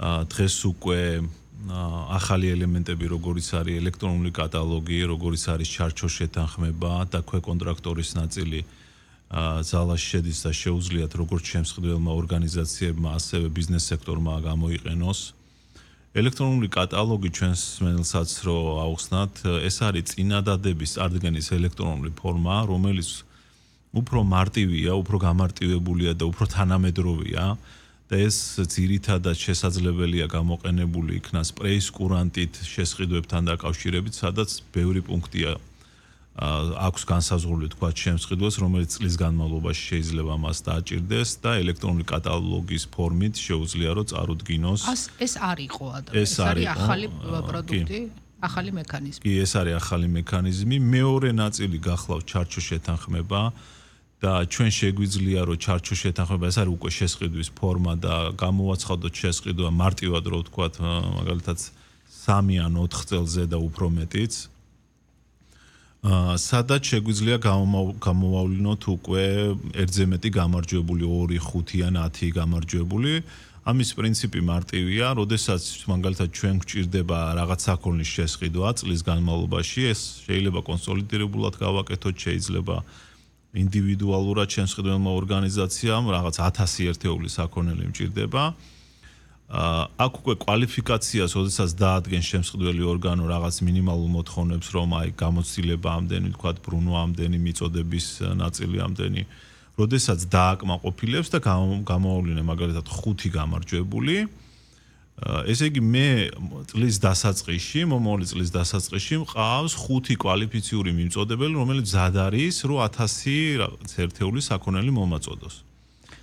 დღეს უკვე ახალი ელემენტები, როგორიც არის ელექტრონული კატალოგი, როგორიც არის ჩარჩოს შეთანხმება და ქვეკონტრაქტორის ნაწილი ზალაში შედის და შეუძლიათ როგორც შემსხდელმა ორგანიზაციებმა, ასევე ბიზნეს სექტორმა გამოიყენოს. ელექტრონული კატალოგი ჩვენს მსმენელსაც რო აუხსნათ, ეს არის წინადადების წარდგენის ელექტრონული ფორმა, რომელიც უფრო მარტივია, უფრო გამარტივებულია და უფრო თანამედროვეა და ეს ძირითადად შესაძლებელია გამოყენებული იქნას სპრეის კურანტით შესყიდვებთან დაკავშირებით, სადაც ბევრი პუნქტია აქვს განსაზღვრული თქვა შემსყიდვას, რომელიც წლის განმავლობაში შეიძლება მას დააჭირდეს და ელექტრონული კატალოგის ფორმით შეუძლია რომ წარუდგინოს. ეს არ იყო ეს არის ახალი პროდუქტი, ახალი მექანიზმი. კი, ეს არის ახალი მექანიზმი. მეორე ნაწილი გახლავს ჩარჩოს შეთანხმება და ჩვენ შეგვიძლია რომ ჩარჩოს შეთანხმება ეს არის უკვე შესყიდვის ფორმა და გამოვაცხადოთ შესყიდვა მარტივად რო ვთქვათ, მაგალითად 3 ან 4 წელზე და უფრო მეტიც. სადაც შეგვიძლია გამოვავლინოთ უკვე ერთზე მეტი გამარჯვებული 2, 5 ან 10 გამარჯვებული. ამის პრინციპი მარტივია, როდესაც მაგალითად ჩვენ გვჭირდება რაღაც საქონლის შესყიდვა წლის განმავლობაში, ეს შეიძლება კონსოლიდირებულად გავაკეთოთ, შეიძლება ინდივიდუალურად შემსყიდველმა ორგანიზაციამ რაღაც 1000 ერთეულის საქონელი მჭირდება. აქ უკვე კვალიფიკაციას, როდესაც დაადგენს შემსყიდველი ორგანო რაღაც მინიმალურ მოთხოვნებს, რომ აი გამოცდილება ამდენი, თქვათ ბრუნვა ამდენი, მიწოდების ნაწილი ამდენი, როდესაც დააკმაყოფილებს და გამოავლინე მაგალითად 5 გამარჯვებული. ესე იგი მე წლის დასაწყისში, მომავალი წლის დასაწყისში მყავს 5 კვალიფიციური მიმწოდებელი, რომელიც მზად არის, რომ 1000 რაღაც ერთეულის საქონელი მომაწოდოს.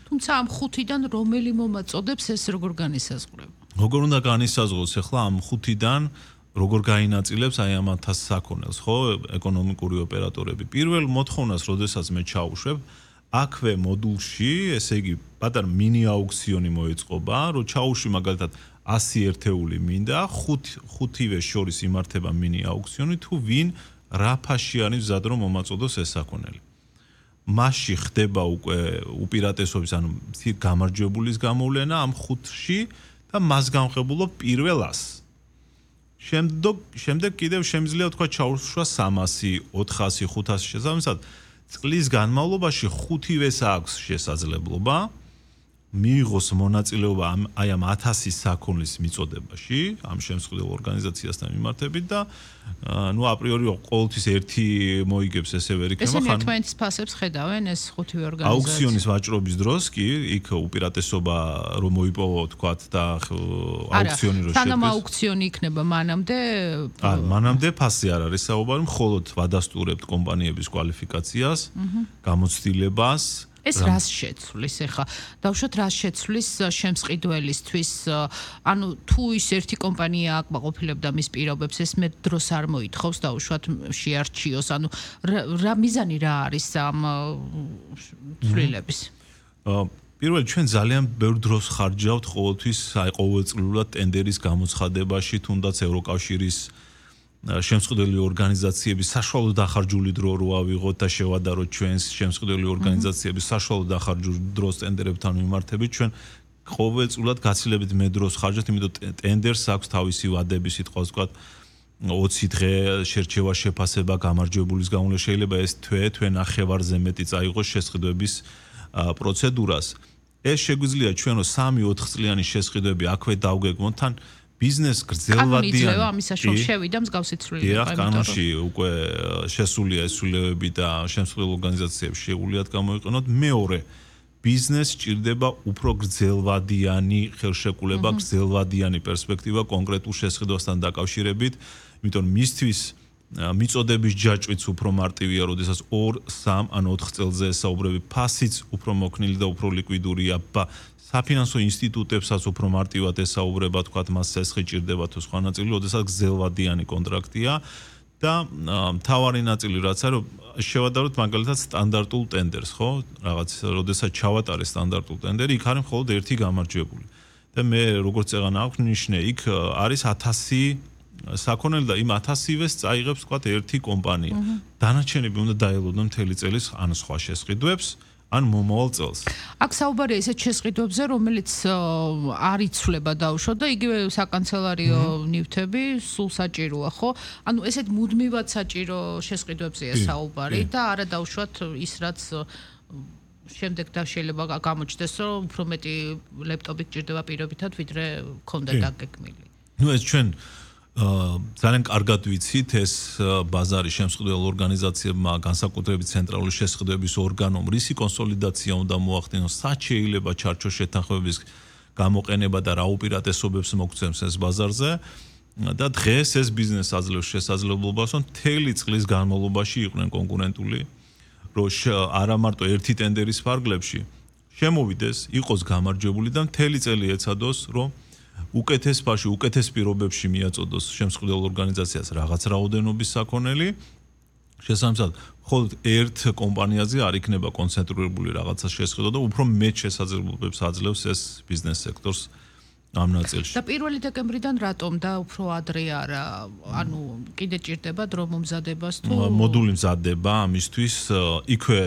თუმცა ამ 5-დან რომელი მომაწოდებს ეს როგორ განისაზღვრება? როგორ უნდა განისაზღვროს ახლა ამ 5-დან როგორ გაინაწილებს აი ამ 1000 საქონელს, ხო, ეკონომიკური ოპერატორები. პირველ მოთხოვნას, როდესაც მე ჩაუშვებ, აქვე მოდულში, ესე იგი, პატარა მინი აუქციონი მოეწყობა, რომ ჩაუშვი მაგალითად 100 ერთეული მინდა, 5-ვე შორის იმართება მინი აუქციონი, თუ ვინ რა ფასში არის მზად რომ მომაწოდოს ეს საქონელი. მასში ხდება უკვე უპირატესობის, ანუ გამარჯვებულის გამოვლენა ამ 5-ში და მას გამხებულობ პირველ 100. შემდეგ კიდევ შემიძლია თქვა ჩაუშვა 300, 400, 500 შესაბამისად წლის განმავლობაში 5-ვეს აქვს შესაძლებლობა მიიღოს მონაწილეობა აი ამ 1000 საქონლის მიწოდებაში, ამ შემსხდელ ორგანიზაციასთან მიმართებით და ნუ აპრიორი ყოველთვის ერთი მოიგებს ესე ვერ იქნება ხან. ესე თქვენს ფასებს ხედავენ ეს 5-ვე ორგანიზაცია. აუქციონის ვაჭრობის დროს კი იქ უპირატესობა რომ მოიპოვო თქვათ და აუქციონი რო შედგეს. სანამ აუქციონი იქნება მანამდე მანამდე ფასი არ არის საუბარი, მხოლოდ ვადასტურებთ კომპანიების კვალიფიკაციას, გამოცდილებას. ეს რას შეცვლის ახლა? დავუშვათ რას შეცვლის შემსყიდველისთვის, ანუ თუ ის ერთი კომპანია აკმაყოფილებდა მის პირობებს, ეს მე დროს არ მოითხოვს დავუშვათ შეარჩიოს, ანუ რა მიზანი რა არის ამ ცვლილების? პირველი ჩვენ ძალიან ბევრ დროს ხარჯავთ ყოველთვის აი ყოველწლიურად ტენდერის გამოცხადებაში, თუნდაც ევროკავშირის შემსყიდველი ორგანიზაციების საშუალო დახარჯული დრო რო ავიღოთ და შევადაროთ ჩვენს შემსყიდველი ორგანიზაციების საშუალო დახარჯული დროს ტენდერებთან მიმართებით, ჩვენ ყოველწლიურად გაცილებით მე დროს ხარჯავთ, იმიტომ ტენდერს აქვს თავისი ვადები, სიტყვას ვთქვათ 20 დღე შერჩევა შეფასება გამარჯვებულის გამოვლენა, შეიძლება ეს თვე ნახევარზე მეტი წაიღოს შესყიდვების პროცედურას. ეს შეგვიძლია ჩვენო 3-4 წლიანი შესყიდვები აქვე დავგეგმოთ თან ბიზნეს გრძელვადიანი. იძლევა ამის საშუალო შევიდა მსგავსი ცვლილება. დიახ, კანონში უკვე შესულია ეს ცვლილებები და შემსხდელ ორგანიზაციებს შეუძლიათ გამოიყენოთ. მეორე, ბიზნესს სჭირდება უფრო გრძელვადიანი ხელშეკრულება, გრძელვადიანი პერსპექტივა კონკრეტულ შესყიდვასთან დაკავშირებით, იმიტომ მისთვის მიწოდების ჯაჭვიც უფრო მარტივია, როდესაც 2, 3 ან 4 წელზე ესაუბრები, ფასიც უფრო მოქნილი და უფრო ლიკვიდურია. საფინანსო ინსტიტუტებსაც უფრო მარტივად ესაუბრება, თქვათ, მას სესხი ჭირდება თუ სხვა ნაწილი, როდესაც გრძელვადიანი კონტრაქტია და მთავარი ნაწილი რაც არის, შევადაროთ მაგალითად სტანდარტულ ტენდერს, ხო? რაღაც, როდესაც ჩავატარე სტანდარტულ ტენდერი, იქ არის მხოლოდ ერთი გამარჯვებული. და მე როგორც წეღანა აქვს ნიშნე, იქ არის 1000 საქონელი და იმ 1000-ვეს წაიღებს, თქვათ, ერთი კომპანია. დანარჩენები უნდა დაელოდონ მთელი წელის ან სხვა შესყიდვებს. ან მომავალ წელს. აქ საუბარია ისეთ შესყიდვებზე, რომელიც არ იცვლება დაუშვათ და იგივე საკანცელერიო ნივთები სულ საჭიროა, ხო? ანუ ესეთ მუდმივად საჭირო შესყიდვებზეა საუბარი და არა დაუშვათ ის რაც შემდეგ და შეიძლება გამოჩნდეს, რომ უფრო მეტი ლეპტოპი გჭირდება პირობითად, ვიდრე ქონდა დაგეგმილი. ნუ ეს ჩვენ ძალიან კარგად ვიცით ეს ბაზარი შემსყიდველ ორგანიზაციებმა განსაკუთრებით ცენტრალური შესყიდვების ორგანომ რისი კონსოლიდაცია უნდა მოახდინოს, სად შეიძლება ჩარჩოს შეთანხმების გამოყენება და რა უპირატესობებს მოგცემს ეს ბაზარზე და დღეს ეს ბიზნეს აძლევს შესაძლებლობას, რომ მთელი წლის განმავლობაში იყვნენ კონკურენტული, რომ არა მარტო ერთი ტენდერის ფარგლებში შემოვიდეს, იყოს გამარჯვებული და მთელი წელი ეცადოს, რომ უკეთეს ფაში, უკეთეს პირობებში მიაწოდოს შემსყიდველ ორგანიზაციას რაღაც რაოდენობის საქონელი. შესაბამისად, მხოლოდ ერთ კომპანიაზე არ იქნება კონცენტრირებული რაღაცა შესყიდვა და უფრო მეტ შესაძლებლობებს აძლევს ეს ბიზნეს სექტორს ამ ნაწილში. და 1 დეკემბრიდან რატომ და უფრო ადრე არა? ანუ კიდე ჭირდება დრო მომზადებას თუ მოდული მზადდება ამისთვის, იქვე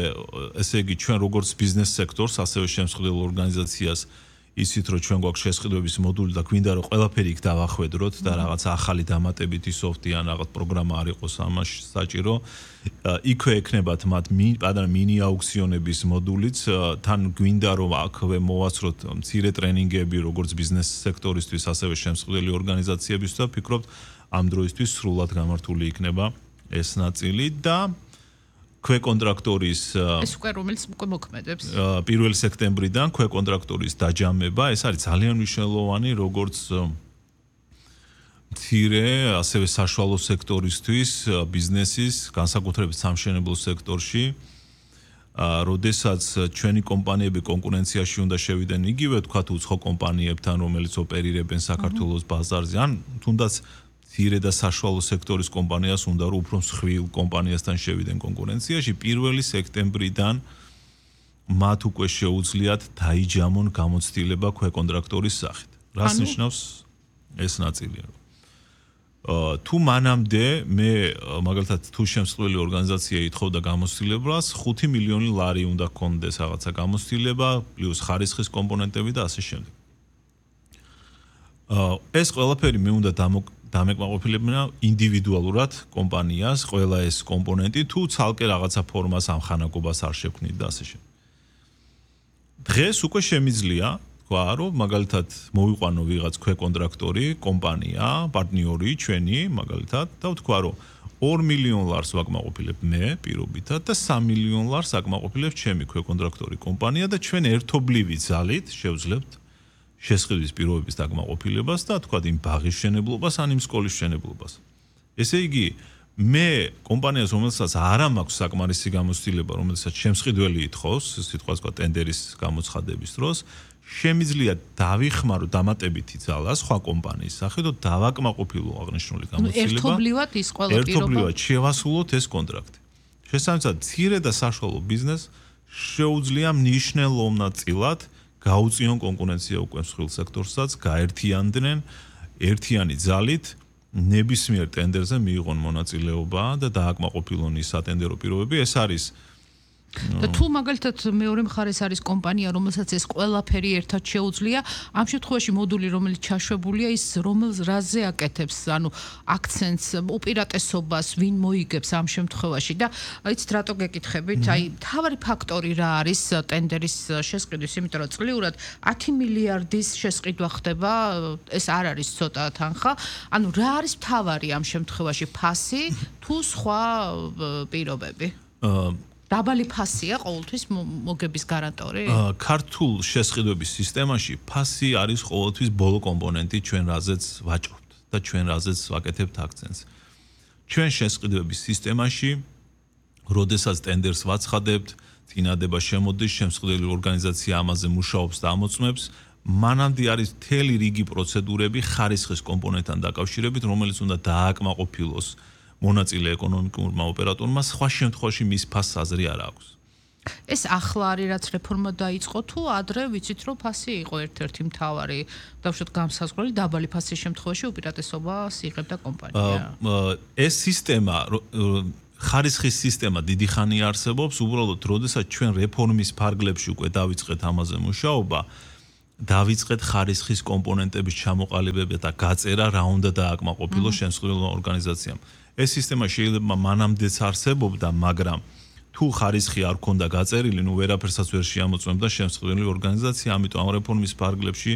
ესე იგი ჩვენ როგორც ბიზნეს სექტორს, ასევე შემსყიდველ ორგანიზაციას ისიც რომ ჩვენ გვაქვს შესყიდვების მოდული და გვინდა რომ ყველაფერი იქ დავახვედროთ და რაღაც ახალი დამატებითი სოფტი ან რაღაც პროგრამა არ იყოს ამაში საჭირო. იქვე ექნებათ მათ მინი აუქციონების მოდულიც, თან გვინდა რომ აქვე მოვაცროთ მცირე ტრენინგები როგორც ბიზნეს სექტორისთვის, ასევე შემსყიდველი ორგანიზაციებისთვის და ვფიქრობთ ამ დროისთვის სრულად გამართული იქნება ეს ნაწილი და ქვეკონტრაქტორის ეს უკვე რომელიც უკვე მოქმედებს 1 სექტემბრიდან ქვეკონტრაქტორის დაჯამება ეს არის ძალიან მნიშვნელოვანი როგორც მცირე ასევე საშუალო სექტორისთვის ბიზნესის განსაკუთრებით სამშენებლო სექტორში როდესაც ჩვენი კომპანიები კონკურენციაში უნდა შევიდნენ იგივე თქვათ უცხო კომპანიებთან რომელიც ოპერირებენ საქართველოს ბაზარზე ან თუნდაც მცირე და საშუალო სექტორის კომპანიას უნდა რომ უფრო მსხვილ კომპანიასთან შევიდნენ კონკურენციაში 1 სექტემბრიდან მათ უკვე შეუძლიათ დაიჯამონ გამოცდილება ქვეკონტრაქტორის სახით. რას ნიშნავს ეს ნაწილი? თუ მანამდე მე მაგალითად თუ შემსწავლელი ორგანიზაცია ითხოვდა გამოცდილებას 5 მილიონი ლარი უნდა გქონდეს რაღაცა გამოცდილება პლუს ხარისხის კომპონენტები და ასე შემდეგ. ეს ყველაფერი მე უნდა დამეკმაყოფილებინა ინდივიდუალურად კომპანიას ყველა ეს კომპონენტი თუ ცალკე რაღაცა ფორმას ამხანაგობას არ შექმნით და ასე შემდეგ. დღეს უკვე შემიძლია თქვა რომ მაგალითად მოვიყვანო ვიღაც ქვეკონტრაქტორი კომპანია პარტნიორი ჩვენი მაგალითად და ვთქვა რომ 2 მილიონ ლარს ვაკმაყოფილებ მე პირობითად და 3 მილიონ ლარს აკმაყოფილებს ჩემი ქვეკონტრაქტორი კომპანია და ჩვენ ერთობლივი ძალით შევძლებთ შესყიდვის პირობების დაკმაყოფილებას და თქვა იმ ბაღის მშენებლობას ან იმ სკოლის მშენებლობას. ესე იგი მე კომპანიას რომელსაც არ მაქვს საკმარისი გამოცდილება რომელსაც შემსყიდველი ითხოვს სიტყვას თქვა ტენდერის გამოცხადების დროს შემიძლია დავიხმარო დამატებითი ძალა სხვა კომპანიის სახით და დავაკმაყოფილო აღნიშნული გამოცდილება. ერთობლივად ის ყველა პირობა ერთობლივად შევასრულოთ ეს კონტრაქტი. შესაბამისად მცირე და საშუალო ბიზნესს შეუძლია მნიშვნელოვნად გაუწიონ კონკურენცია უკვე მსხვილ სექტორსაც, გაერთიანდნენ ერთიანი ძალით ნებისმიერ ტენდერზე მიიღონ მონაწილეობა და დააკმაყოფილონ ის სატენდერო პირობები. ეს არის და თუ მაგალითად მეორე მხარეს არის კომპანია, რომელსაც ეს ყველაფერი ერთად შეუძლია, ამ შემთხვევაში მოდული რომელიც ჩაშვებულია, ის რაზე აკეთებს, ანუ აქცენტს, უპირატესობას, ვინ მოიგებს ამ შემთხვევაში და იცით რატო გეკითხებით? აი, მთავარი ფაქტორი რა არის ტენდერის შესყიდვის, იმიტომ რომ წლიურად 10 მილიარდის შესყიდვა ხდება, ეს არ არის ცოტა თანხა. ანუ რა არის მთავარი ამ შემთხვევაში, ფასი თუ სხვა პირობები? დაბალი ფასია ყოველთვის მოგების გარანტორი? ქართულ შესყიდვების სისტემაში ფასი არის ყოველთვის ბოლო კომპონენტი ჩვენ რაზეც ვაჭრობთ და ჩვენ რაზეც ვაკეთებთ აქცენტს. ჩვენ შესყიდვების სისტემაში, როდესაც ტენდერს ვაცხადებთ, წინადება შემოდის, შემსყიდველი ორგანიზაცია ამაზე მუშაობს და ამოწმებს, მანამდე არის მთელი რიგი პროცედურები ხარისხის კომპონენტთან დაკავშირებით, რომელიც უნდა დააკმაყოფილოს მონაწილე ეკონომიკურმა ოპერატორმა სხვა შემთხვევაში მის ფასს აზრი არ აქვს. ეს ახლა არის რაც რეფორმა დაიწყო თუ ადრე ვიცით რომ ფასი იყო ერთ-ერთი მთავარი დავუშვათ განსაზღვრელი დაბალი ფასის შემთხვევაში უპირატესობას იღებდა კომპანია. ეს სისტემა ხარისხის სისტემა დიდი ხანია არსებობს, უბრალოდ როდესაც ჩვენ რეფორმის ფარგლებში უკვე დავიწყეთ ამაზე მუშაობა, დავიწყეთ ხარისხის კომპონენტების ჩამოყალიბება და გაწერა რა უნდა დააკმაყოფილოს შემსრულებელ ორგანიზაციამ. ეს სისტემა შეიძლება მანამდეც არსებობდა, მაგრამ თუ ხარისხი არ ქონდა გაწერილი, ნუ ვერაფერსაც ვერ შეამოწმებდა შემსრულებელი ორგანიზაცია, ამიტომ ამ რეფორმის ფარგლებში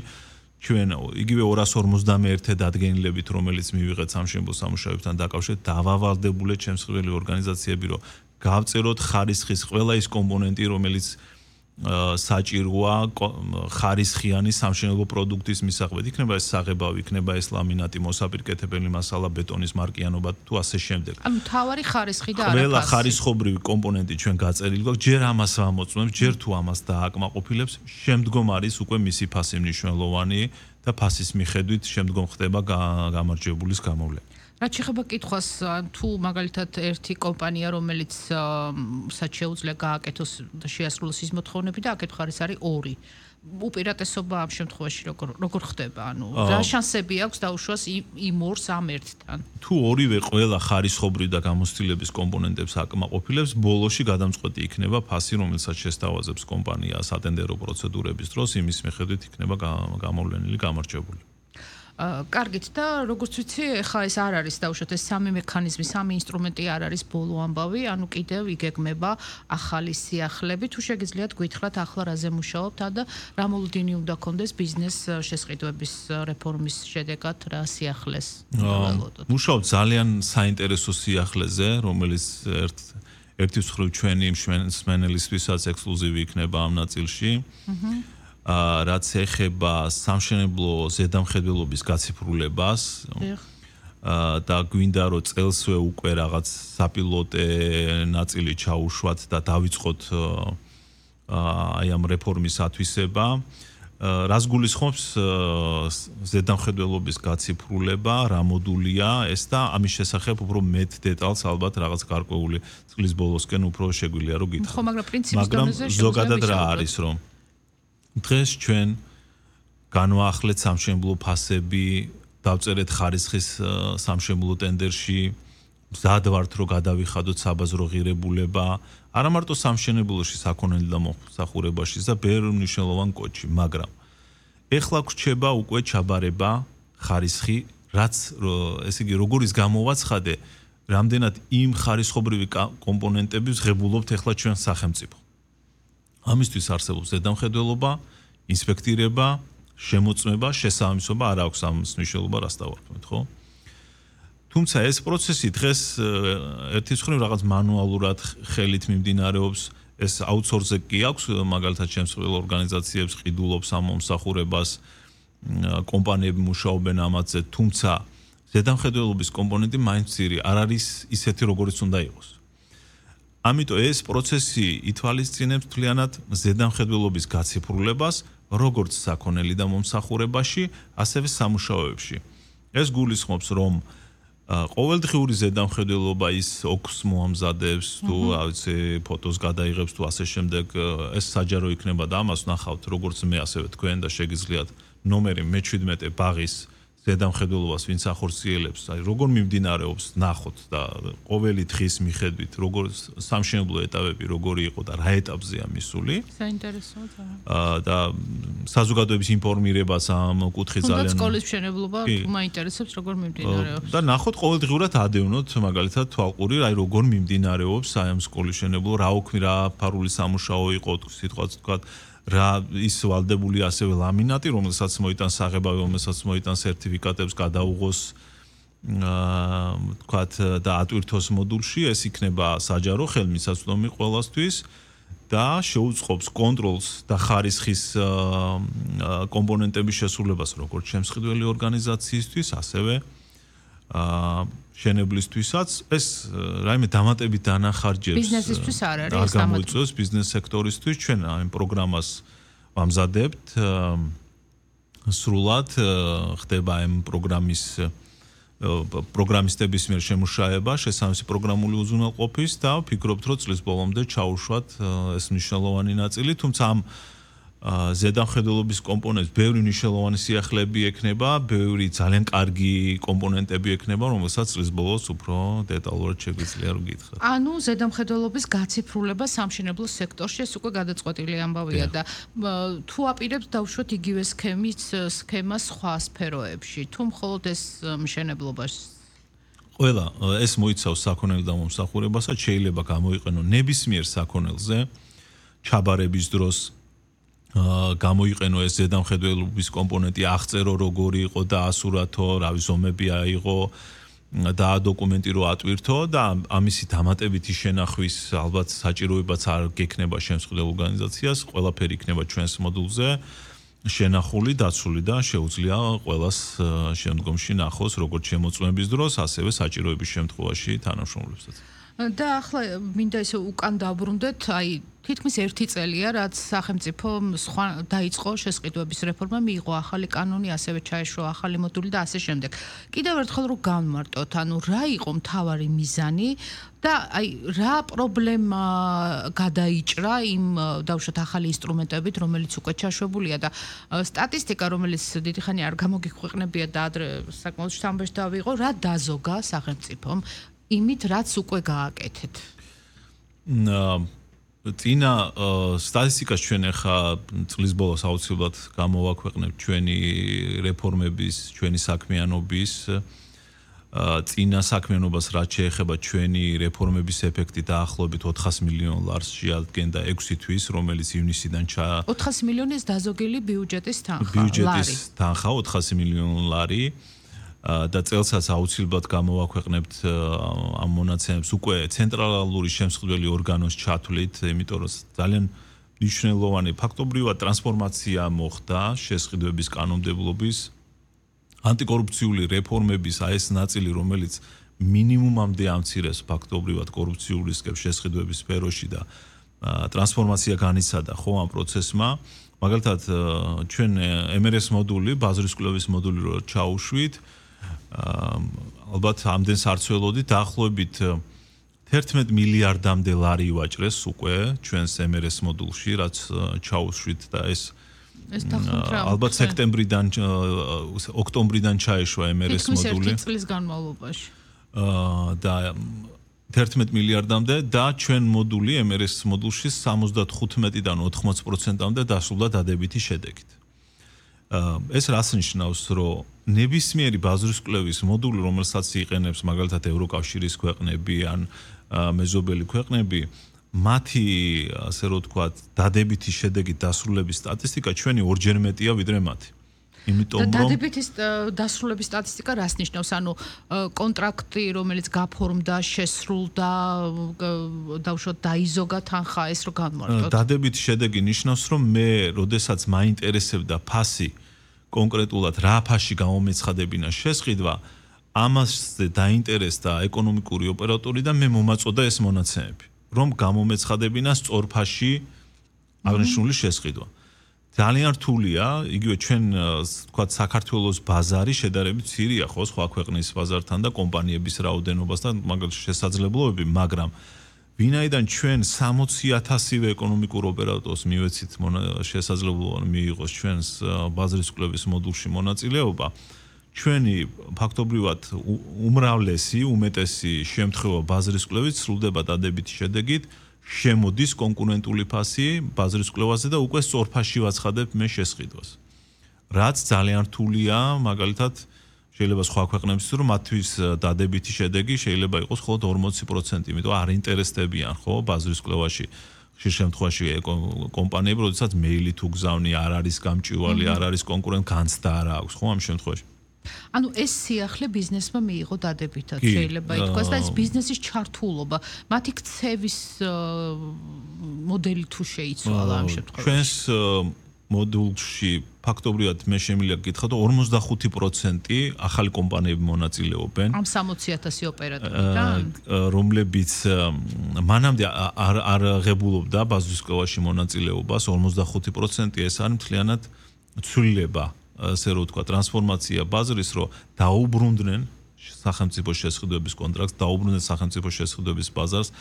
ჩვენ იგივე 251 დადგენილებით, რომელიც მივიღეთ სამშენებლო სამუშაოებთან დაკავშირებით, დავავალდებულეთ შემსრულებელი ორგანიზაციები, რომ გავწეროთ ხარისხის ყველა ის კომპონენტი, რომელიც საჭიროა ხარისხიანი სამშენებლო პროდუქტის მისაღებად. იქნება ეს საღებავი, იქნება ეს ლამინატი, მოსაპირკეთებელი მასალა, ბეტონის მარკიანობა თუ ასე შემდეგ. ანუ თავარი ხარისხი და არა ყველა ხარისხობრივი კომპონენტი ჩვენ გაწერილი გვაქვს, ჯერ ამას ამოწმებს, ჯერ თუ ამას დააკმაყოფილებს, შემდგომ არის უკვე მისი ფასი მნიშვნელოვანი და ფასის მიხედვით შემდგომ ხდება გამარჯვებულის გამოვლენა. რაც შეეხება კითხვას, თუ მაგალითად ერთი კომპანია, რომელიც საც შეუძლია გააკეთოს და შეასრულოს ის მოთხოვნები და აქეთ ხარ ეს არის 2. უპირატესობა ამ შემთხვევაში როგორ ხდება? ანუ რა შანსები აქვს დაუშვას იმ ორს ამ ერთთან? თუ ორივე ყველა ხარისხობრივი და გამოცდილების კომპონენტებს აკმაყოფილებს, ბოლოში გადამწყვეტი იქნება ფასი, რომელსაც შესთავაზებს კომპანია სატენდერო პროცედურების დროს, იმის მიხედვით იქნება გამოვლენილი გამარჯვებული. კარგით და როგორც ვიცი, ეხლა ეს არ არის დაუშვათ ეს სამი მექანიზმი, სამი ინსტრუმენტი არ არის ბოლო ამბავი, ანუ კიდევ იგეგმება ახალი სიახლეები, თუ შეგიძლიათ გითხრათ ახლა რაზე მუშაობთ და რა მოლოდინი უნდა კონდეს ბიზნეს შესყიდვების რეფორმის შედეგად რა სიახლეს ველოდოთ. მუშაობთ ძალიან საინტერესო სიახლეზე, რომელიც ერთი მხრივ ჩვენი მსმენელისთვისაც ექსკლუზივი იქნება ამ ნაწილში. რაც ეხება სამშენებლო ზედამხედველობის გაციფრულებას და გვინდა რომ წელსვე უკვე რაღაც საპილოტე ნაწილი ჩაუშვათ და დავიწყოთ აი ამ რეფორმის ათვისება, რას გულისხმობს ზედამხედველობის გაციფრულება, რა მოდულია ეს და ამის შესახებ უფრო მეტ დეტალს ალბათ რაღაც გარკვეული წლის ბოლოსკენ უფრო შეგვიძლია რომ გითხრათ. ხო, მაგრამ პრინციპის დონეზე ზოგადად რა არის რომ დღეს ჩვენ განვაახლეთ სამშენებლო ფასები, დავწერეთ ხარისხის სამშენებლო ტენდერში, მზად ვართ რომ გადავიხადოთ საბაზრო ღირებულება, არა მარტო სამშენებლოში, საქონელი და მომსახურებაში და ბევრ მნიშვნელოვან კოდში, მაგრამ ეხლა გვრჩება უკვე ჩაბარება ხარისხი, რაც ესე იგი როგორ ის გამოვაცხადე, რამდენად იმ ხარისხობრივი კომპონენტების ღებულობთ ეხლა ჩვენ სახელმწიფო. ამისთვის არსებობს ზედამხედველობა, ინსპექტირება, შემოწმება, შესაბამისობა არ აქვს ამის მნიშვნელობა, რას დავარქმევთ, ხო? თუმცა ეს პროცესი დღეს ერთის მხრივ რაღაც მანუალურად ხელით მიმდინარეობს, ეს აუთსორსზე კი აქვს, მაგალითად შემსრულებელ ორგანიზაციებს ყიდულობს ამ მომსახურებას, კომპანიები მუშაობენ ამაზე, თუმცა ზედამხედველობის კომპონენტი მაინც მცირე არ არის ისეთი, როგორიც უნდა იყოს. ამიტომ ეს პროცესი ითვალისწინებს მთლიანად ზედამხედველობის გაციფრულებას, როგორც საქონელი და მომსახურებაში, ასევე სამუშაოებში. ეს გულისხმობს, რომ ყოველდღიური ზედამხედველობა ის ოქს მოამზადებს, თუ ავიცი ფოტოს გადაიღებს, თუ ასე შემდეგ, ეს საჯარო იქნება და ამას ნახავთ, როგორც მე ასევე თქვენ და შეგიძლიათ ნომერი მე-17 ბაღის ზედამხედველობას ვინც ახორციელებს, აი როგორ მიმდინარეობს ნახოთ და ყოველი დღის მიხედვით როგორ სამშენებლო ეტაპები როგორი იყო და რა ეტაპზეა მისული. საინტერესოა ძალიან. და საზოგადოების ინფორმირებას ამ კუთხით ძალიან სკოლის მშენებლობა თუ მაინტერესებს როგორ მიმდინარეობს. და ნახოთ ყოველდღურად ადევნოთ მაგალითად თვალყური, აი როგორ მიმდინარეობს აი ამ სკოლის მშენებლობა, რა ოქმი, რა ფარული სამუშაო იყო, სიტყვაც თქვა რა ის ვალდებული ასევე ლამინატი, რომელსაც მოიტანს საღებავი, რომელსაც მოიტანს სერტიფიკატებს გადაუღოს თქვათ და ატვირთოს მოდულში, ეს იქნება საჯარო ხელმისაწვდომი ყველასთვის და შეუწყობს კონტროლს და ხარისხის კომპონენტების შესრულებას როგორც შემსყიდველი ორგანიზაციისთვის, ასევე შენებლისთვისაც ეს რაიმე დამატებით დანახარჯებს ბიზნესისთვის არ არის ეს გამოიწვევს ბიზნეს სექტორისთვის ჩვენ ამ პროგრამას ვამზადებთ სრულად ხდება ამ პროგრამისტების მიერ შემუშავება შესაბამისი პროგრამული უზრუნველყოფის და ვფიქრობთ რომ წლის ბოლომდე ჩაუშვათ ეს მნიშვნელოვანი ნაწილი თუმცა ამ ზედამხედველობის კომპონენტს ბევრი მნიშვნელოვანი სიახლეები ექნება, ბევრი ძალიან კარგი კომპონენტები ექნება, რომელსაც წლის ბოლოს უფრო დეტალურად შეგვიძლია რომ გითხრათ. ანუ ზედამხედველობის გაციფრულება სამშენებლო სექტორში ეს უკვე გადაწყვეტილი ამბავია და თუ აპირებთ დავუშვათ იგივე სქემას სხვა სფეროებში, თუ მხოლოდ ეს მშენებლობაში ყველა ეს მოიცავს საქონელ დამომსახურებასაც, შეიძლება გამოიყენო ნებისმიერ საქონელზე ჩაბარების დროს გამოიყენო ეს ზედამხედველობის კომპონენტი, აღწერო როგორი იყო და ასურათო, რავი ზომები აიღო და დოკუმენტი რო ატვირთო და ამისი დამატებითი შენახვის ალბათ საჭიროებაც არ გექნება შემსხვილ ორგანიზაციას, ყველაფერი იქნება ჩვენს მოდულზე შენახული, დაცული და შეუძლია ყველას შემდგომში ნახოს როგორც შემოწმების დროს, ასევე საჭიროების შემთხვევაში თანამშრომლებსაც. და ახლა მინდა ისე უკან დავბრუნდეთ, აი თითქმის 1 წელია, რაც სახელმწიფო სხვა დაიწყო შესყიდვების რეფორმა, მიიღო ახალი კანონი, ასევე ჩაეშვა ახალი მოდული და ასე შემდეგ. კიდევ ერთხელ რომ განმარტოთ, ანუ რა იყო მთავარი მიზანი და აი რა პრობლემა გადაიჭრა იმ დავუშვათ ახალი ინსტრუმენტებით, რომელიც უკვე ჩაშვებულია და სტატისტიკა, რომელიც დიდი ხანი არ გამოგიქვეყნებია და ადრე საკმაოდ შთამბეჭ დავიღო, რა დაზოგა სახელმწიფომ იმით, რაც უკვე გააკეთეთ. წინა სტატისტიკას ჩვენ ახლა წლის ბოლოს აუცილებლად გამოვაქვეყნებთ ჩვენი რეფორმების, ჩვენი საქმიანობის წინა საქმიანობას რაც შეეხება ჩვენი რეფორმების ეფექტი დაახლოებით 400 მილიონ ლარს შეადგენდა 6 თვის, რომელიც ივნისიდან 400 მილიონი ეს დაზოგილი ბიუჯეტის თანხა. ბიუჯეტის თანხა 400 მილიონ ლარი. და წელსაც აუცილებლად გამოვაქვეყნებთ ამ მონაცემებს უკვე ცენტრალური შემსხდელი ორგანოს ჩათვლით, იმიტომ რომ ძალიან მნიშვნელოვანი ფაქტობრივად ტრანსფორმაცია მოხდა შესყიდვების კანონმდებლობის ანტიკორუფციული რეფორმების ეს ნაწილი, რომელიც მინიმუმამდე ამცირებს ფაქტობრივად კორუფციულ რისკებს შესყიდვების სფეროში და ტრანსფორმაცია განიცადა ხო ამ პროცესმა. მაგალითად ჩვენ MRS მოდული, ბაზრის კვლევის მოდული რო ჩაუშვით, ალბათ ამდენს არ ცველოდით, დაახლოებით 11 მილიარდამდე ლარი ვაჭრეს უკვე ჩვენს MRS მოდულში, რაც ჩაუშვით და ეს ალბათ სექტემბრიდან ოქტომბრიდან ჩაეშვა MRS მოდული. თითქმის 1 წლის განმავლობაში. და 11 მილიარდამდე და ჩვენ მოდული MRS მოდულში 75-დან 80%-მდე დასრულდა დადებითი შედეგით. ეს რას ნიშნავს, რომ ნებისმიერი ბაზრის კვლევის მოდული, რომელსაც იყენებს მაგალითად ევროკავშირის ქვეყნები ან მეზობელი ქვეყნები, მათი ასე რომ ვთქვათ, დადებითი შედეგით დასრულების სტატისტიკა ჩვენი ორჯერ მეტია ვიდრე მათი. იმიტომ რომ დადებითი დასრულების სტატისტიკა რას ნიშნავს? ანუ კონტრაქტი, რომელიც გაფორმდა, შესრულდა, დავუშვათ დაიზოგა თანხა, ეს რო განმარტოთ. დადებითი შედეგი ნიშნავს, რომ მე, როდესაც მაინტერესებდა ფასი კონკრეტულად რა ფასში გამომეცხადებინა შესყიდვა, ამაზე დაინტერესდა ეკონომიკური ოპერატორი და მე მომაწოდა ეს მონაცემები, რომ გამომეცხადებინა სწორ ფასში აღნიშნული შესყიდვა. ძალიან რთულია, იგივე ჩვენ ვთქვათ საქართველოს ბაზარი შედარებით მცირეა ხო სხვა ქვეყნის ბაზართან და კომპანიების რაოდენობასთან მაგალითად შესაძლებლობები, მაგრამ ვინაიდან ჩვენ 60,000-ვე ეკონომიკურ ოპერატორს მივეცით შესაძლებლობა მიიღოს ჩვენს ბაზრის კვლევის მოდულში მონაწილეობა, ჩვენი ფაქტობრივად უმრავლესი, უმეტესი შემთხვევა ბაზრის კვლევით სრულდება დადებითი შედეგით, შემოდის კონკურენტული ფასი ბაზრის კვლევაზე და უკვე სწორ ფასში ვაცხადებ მე შესყიდვას. რაც ძალიან რთულია, მაგალითად შეიძლება სხვა ქვეყნებიც რომ მათთვის დადებითი შედეგი შეიძლება იყოს მხოლოდ 40%, იმიტომ არ ინტერესდებიან ხო ბაზრის კვლევაში ხშირ შემთხვევაში კომპანიები, როდესაც მეილი თუ გზავნი არ არის გამჭვირვალე, არ არის კონკურენტ განცდა არ აქვს ხო ამ შემთხვევაში. ანუ ეს სიახლე ბიზნესმა მიიღო დადებითად შეიძლება ითქვას და ეს ბიზნესის ჩართულობა, მათი ქცევის მოდელი თუ შეიცვალა ამ შემთხვევაში. ჩვენს მოდულში ფაქტობრივად მე შემიძლია გითხრათ 45% ახალი კომპანიები მონაწილეობენ. ამ 60,000 ოპერატორიდან, რომლებიც მანამდე არ ღებულობდა ბაზრის კვლევაში მონაწილეობას, 45% ეს არის მთლიანად ცვლილება. ასე რომ ვთქვა, ტრანსფორმაცია ბაზრის, რომ დაუბრუნდნენ სახელმწიფო შესყიდვების კონტრაქტს, დაუბრუნდნენ სახელმწიფო შესყიდვების ბაზარს,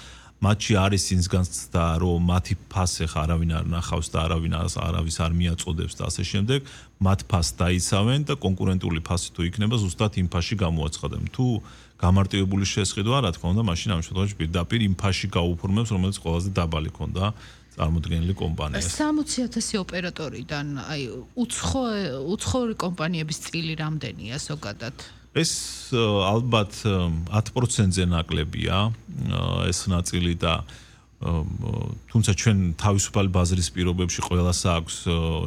მათში არის ის განცდა, რომ მათი ფასი ხა არავინ არ ნახავს და არავის არ მიაწოდებს და ასე შემდეგ, მათ ფასს დაიცავენ და კონკურენტული ფასი თუ იქნება, ზუსტად იმ ფასში გამოაცხადნენ. თუ გამარტივებული შესყიდვა, რა თქმა უნდა, მაშინ ამ შემთხვევაში პირდაპირ იმ ფასში გაუფორმებს, რომელიც ყველაზე დაბალი ქონდა წარმოდგენილი კომპანიას. 60,000 ოპერატორიდან, აი, უცხოური კომპანიების წილი რამდენია ზოგადად? ეს ალბათ 10%-ზე ნაკლებია ეს ნაწილი და თუმცა ჩვენ თავისუფალი ბაზრის პირობებში ყველას აქვს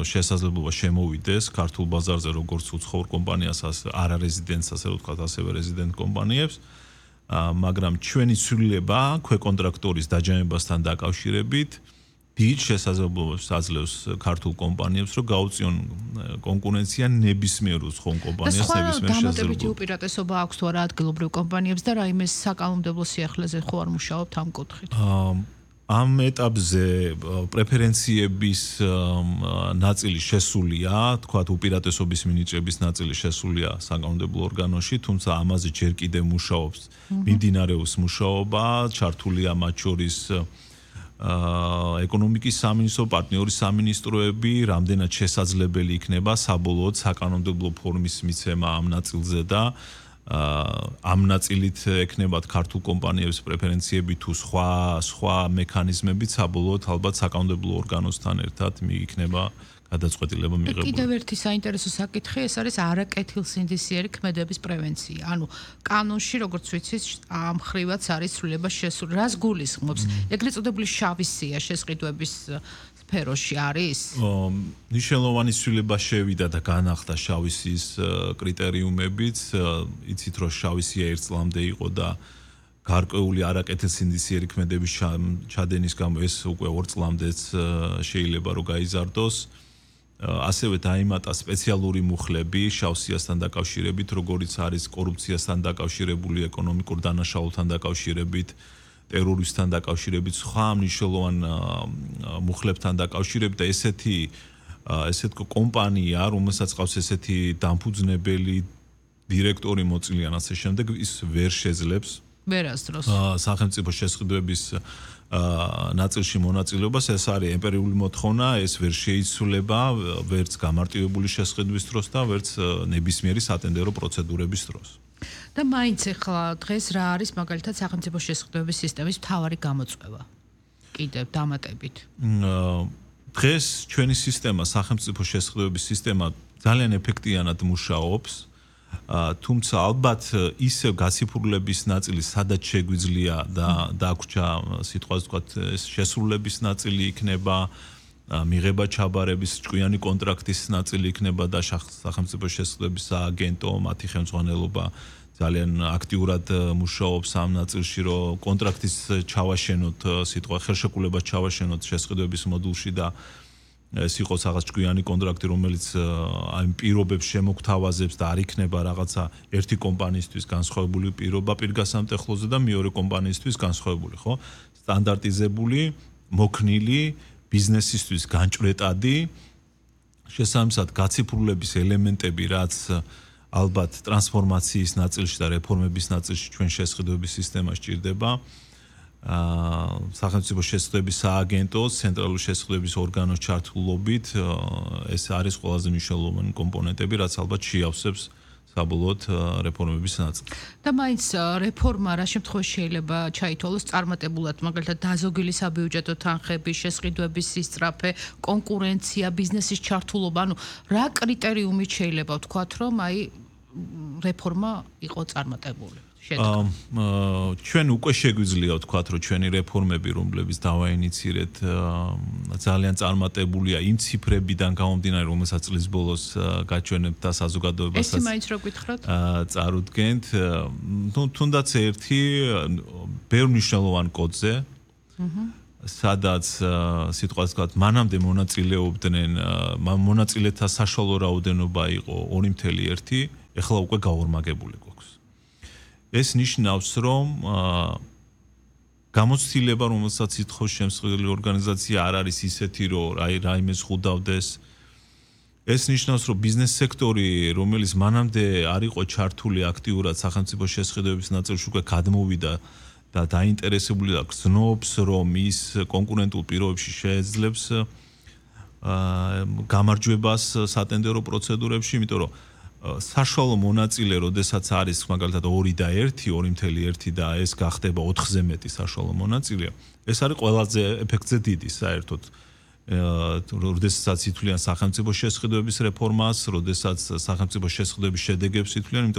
შესაძლებლობა შემოვიდეს ქართულ ბაზარზე როგორც უცხოურ კომპანიას, არარეზიდენტს, ასე ვთქვათ, ასევე რეზიდენტ კომპანიებს, მაგრამ ჩვენი ცვლილება ქვეკონტრაქტორის დაჯამებასთან დაკავშირებით დიდ შესაძლებლობას აძლევს ქართულ კომპანიებს, რომ გაუწიონ კონკურენცია ნებისმიერ უცხოურ კომპანიას, ნებისმიერ შესაძლებლობას. დამატებითი უპირატესობა აქვს თუ არა ადგილობრივ კომპანიებს და რაიმე საკანონმდებლო სიახლეზე ხო არ მუშაობთ ამ კუთხით? ამ ეტაპზე პრეფერენციების ნაწილი შესულია, თქვათ უპირატესობის მინიჭების ნაწილი შესულია საკანონმდებლო ორგანოში, თუმცა ამაზე ჯერ კიდევ მუშაობს, მიმდინარეობს მუშაობა, ჩართულია მათ შორის ეკონომიკის სამინისტრო, პარტნიორის სამინისტროები, რამდენად შესაძლებელი იქნება საბოლოოდ საკანონმდებლო ფორმის მიცემა ამ ნაწილზე და ამ ნაწილით ექნებათ ქართულ კომპანიებს პრეფერენციები თუ სხვა მექანიზმებით საბოლოოდ ალბათ საკანონმდებლო ორგანოსთან ერთად მიიქნება გადაწყვეტილება მიღებული. კიდევ ერთი საინტერესო საკითხი, ეს არის არაკეთილსინდისიერი ქმედების პრევენცია. ანუ კანონში, როგორც ვიცით, ამ ხრივაც არის ცვლილება შესული. რას გულისხმობს? ეგრეთ წოდებული შავი სია შესყიდვების სფეროში არის? ნიშნულოვანი ცვლილება შევიდა და განახდა შავი სიის კრიტერიუმებიც. იცით, რომ შავი სია ერთ წლამდე იყო და გარკვეული არაკეთილსინდისიერი ქმედების ჩადენის გამო ეს უკვე 2 წლამდეც შეიძლება რომ გაიზარდოს. ასევე დაიმატა სპეციალური მუხლები შავსიასთან დაკავშირებით, როგორიც არის კორუფციასთან დაკავშირებული, ეკონომიკურ დანაშაულთან დაკავშირებით, ტერორიზმთან დაკავშირებით, სხვა მნიშვნელოვან მუხლებთან დაკავშირებით და ესეთი კომპანია, რომელსაც ყავს ესეთი დამფუძნებელი დირექტორი მოწილიან ასე შემდეგ, ის ვერ შეძლებს ვერასდროს სახელმწიფო შესყიდვების ნაწილში მონაწილეობას. ეს არის ემპირიული მოთხოვნა, ეს ვერ შეიცვლება ვერც გამარტივებული შესყიდვის დროს და ვერც ნებისმიერი სატენდერო პროცედურების დროს. და მაინც ახლა დღეს რა არის მაგალითად სახელმწიფო შესყიდვების სისტემის მთავარი გამოწვევა? კიდევ დამატებით. დღეს ჩვენი სისტემა, სახელმწიფო შესყიდვების სისტემა ძალიან ეფექტიანად მუშაობს. თუმცა ალბათ ისევ გაციფრულების ნაწილი სადაც შეგვიძლია და დაგვრჩა სიტყვას ვთქვათ შესრულების ნაწილი იქნება, მიღება ჩაბარების ჭკვიანი კონტრაქტის ნაწილი იქნება და სახელმწიფო შესყიდვების სააგენტო, მათი ხელმძღვანელობა ძალიან აქტიურად მუშაობს ამ ნაწილში, რომ კონტრაქტის ჩავაშენოთ, სიტყვა ხელშეკრულებას ჩავაშენოთ შესყიდვების მოდულში და ეს იყოს რაღაც ჭკვიანი კონტრაქტი, რომელიც აი პირობებს შემოგთავაზებს და არ იქნება რაღაცა ერთი კომპანიისთვის განსხვავებული პირობა პირგასამტეხლოზე და მეორე კომპანიისთვის განსხვავებული, ხო? სტანდარტიზებული, მოქნილი, ბიზნესისთვის განჭვრეტადი, შესაბამისად გაციფრულების ელემენტები, რაც ალბათ ტრანსფორმაციის ნაწილში და რეფორმების ნაწილში ჩვენ შესყიდვების სისტემას ჭირდება. სახელმწიფო შესყიდვების სააგენტოს, ცენტრალური შესყიდვების ორგანოს ჩართულობით ეს არის ყველაზე მნიშვნელოვანი კომპონენტები, რაც ალბათ შეავსებს საბოლოოდ რეფორმების ნაწილს. და მაინც რეფორმა რა შემთხვევაში შეიძლება ჩაითვალოს წარმატებულად, მაგალითად დაზოგილი საბიუჯეტო თანხები, შესყიდვების სისწრაფე, კონკურენცია, ბიზნესის ჩართულობა, ანუ რა კრიტერიუმით შეიძლება ვთქვათ, რომ აი რეფორმა იყო წარმატებული? ჩვენ უკვე შეგვიძლია ვთქვათ, რომ ჩვენი რეფორმები, რომლებიც დავაინიცირეთ, ძალიან წარმატებულია იმ ციფრებიდან გამომდინარე, რომელსაც წლის ბოლოს გაჩვენებთ და საზოგადოებასაც. ეს მაინც რო გითხრათ? წარუდგენთ, თუნდაც ერთი ბევრ მნიშვნელოვან კოდზე, სადაც სიტყვას ვთქვათ, მანამდე მონაწილეობდნენ, მონაწილეთა საშუალო რაოდენობა იყო 2.1, ეხლა უკვე გაორმაგებული გვაქვს. ეს ნიშნავს, რომ გამოცდილება, რომელსაც ითხოვს შემსწავლელი ორგანიზაცია არ არის ისეთი, რომ რაიმე ზღუდავდეს. ეს ნიშნავს, რომ ბიზნეს სექტორი, რომელიც მანამდე არ იყო ჩართული აქტიურად სახელმწიფო შესყიდვების ნაწილში, უკვე გადმოვიდა და დაინტერესებული და გრძნობს, რომ ის კონკურენტულ პირობებში შეეძლებს გამარჯვებას სატენდერო პროცედურებში, იმიტომ რომ საშუალო მონაწილე, როდესაც არის მაგალითად 2 და 1, 2.1 და ეს გახდება 4-ზე მეტი საშუალო მონაწილე, ეს არის ყველაზე ეფექტზე დიდი საერთოდ. როდესაც ითვლიან სახელმწიფო შესყიდვების რეფორმას, როდესაც სახელმწიფო შესყიდვების შედეგებს ითვლიან, იმიტომ